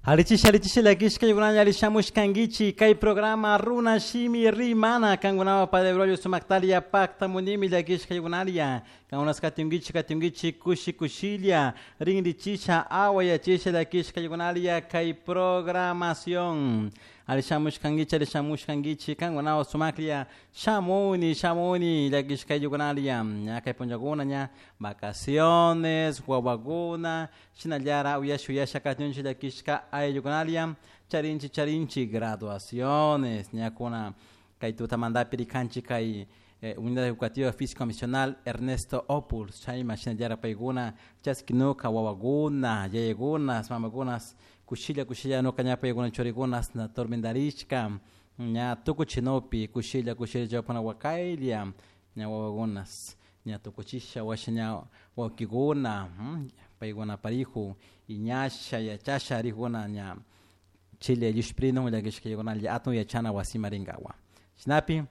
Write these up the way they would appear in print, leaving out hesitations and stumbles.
Alichisha alichisha llakishka yunalla alishamushkankichik kay programa Runa Shimi Rimana kankunawan Padre Braulio sumaktalia paktamunimi llakishka yunalla kankunas katinkichik katinkichik kushi kushilla rinrichisha awayachisha llakishka yunalla kay programación alishamushkankichik alishamushkankichik kankunawan sumaklla shamuni shamuni llakishka yunalla ña kay punllakuna ña vacaciones wawakuna shinallara uyasha uyasha katinchik llakishka ayllukunalla charinchik charinchik graduaciones ñakuna kay tutamantapi rikanchik kay Unidad Educativa Físico Misional Ernesto Opuls chayma shinallara paykuna chaskinuka wawakuna yayakunas mamakunas kushilla kushilla nuka ña paykuna churikunas na tormentarishka ña tukuchinupi kushilla kushilla chawpana wakaylla ña wawakunas ña tukuchisha washa ña wawkikuna paykuna parijo y ñasha yachasha rijuna ña Chile llushprinun llakishkaykunalla atun yachana wasima rinkawa shinapi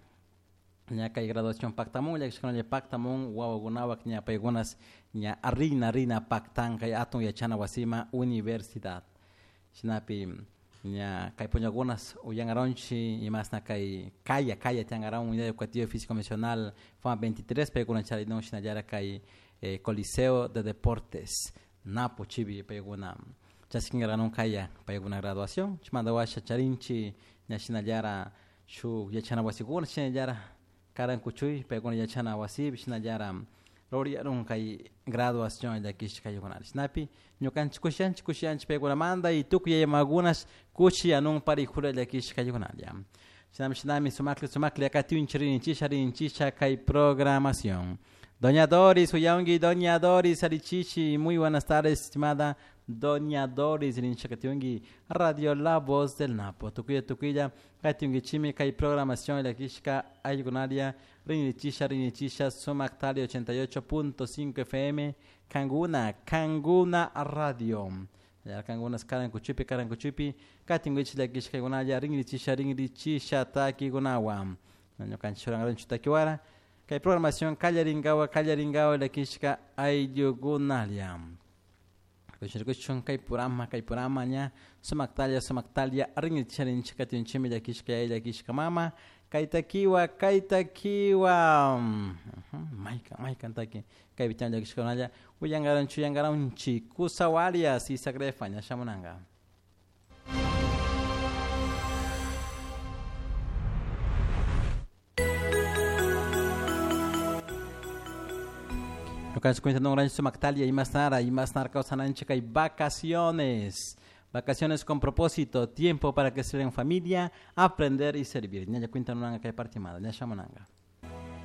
ña kay graduación paktamun llakishkunalla paktamun wawakunapak ña paykunas ña rina rina paktan kay atun yachana wasima universidad shinapi ña kay punllakunas uyankaronchik imasna kay kaya kaya tiyankaron Unidad Educativa Físico Misional FAM 23 paykuna charinun shinallara kay Coliseo de Deportes Napo chibi paykuna chaskinkaranun kaya paykuna graduación chaymanta washa charinchik ña shinallara shuk yachana wasikuna shinallara karan kuchuy paykuna yachana wasipi shinallara rurayarun kay graduación llakishka kaykunata shinapi ñukanchik kushiyanchik kushiyanchik paykunamanta y tukuy yaya mamakunash kushiyanun parijura llakishka kaykunalla shinami shinami sumaklla sumaklla katiunchik rinchisha rinchisha kay programación. Doña Doris, uyanki, Doña Doris, alichichi, muy buenas tardes, estimada Doña Doris, rinchakatiunki, Radio La Voz del Napo. Tukuya, tukuya, katiunkichimi, kay programación llakishka ayllukunaria, rinichisha, rinichisha, Sumaktali 88.5 FM, Kanguna, Kanguna Radio. Kangunas karankuchupi, karankuchupi, katinkichik llakishka aykunalla, rinrichisha, rinrichisha, takikunawan. Ñukanchik churankaranchik takiwara. Kay programación kallarinkawa kallarinkawa llakishka ayllukunalla. Rikuchun kay purama ña sumaktalla sumaktalla rinrichisha rinrichisha katinchimi llakishka yaya llakishka mama kay takiwa kay takiwa maykan maykan taki kaypi tiyan llakishkakunalla uyankaranchik uyankaranchik kusawarias y Isagrefa ña shamunanka. Ñukanchik cuentanunranchik sumaktalia imasnara imasnara kawsananchik kay vacaciones. Vacaciones con propósito, tiempo para crecer en familia, aprender y servir. Ñalla cuentanunanka kay partimada, ña shamunanka.